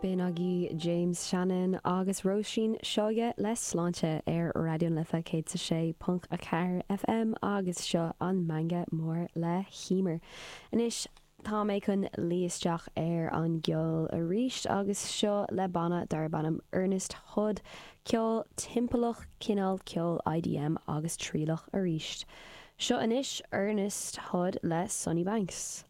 B'in agaibh James Shannon agus Róisín Seoige le Sláinte ar Raidió na Life 106.4 FM agus seo an Meangadh Mór le hEmer. Anois tá mé chun luí isteach ar an gceol arís agus seo le banna darb ainm Ernest Hood, ceol timpeallach, cineál ceol IDM agus trialach arís. Seo anois Ernest Hood le Sonny Banks.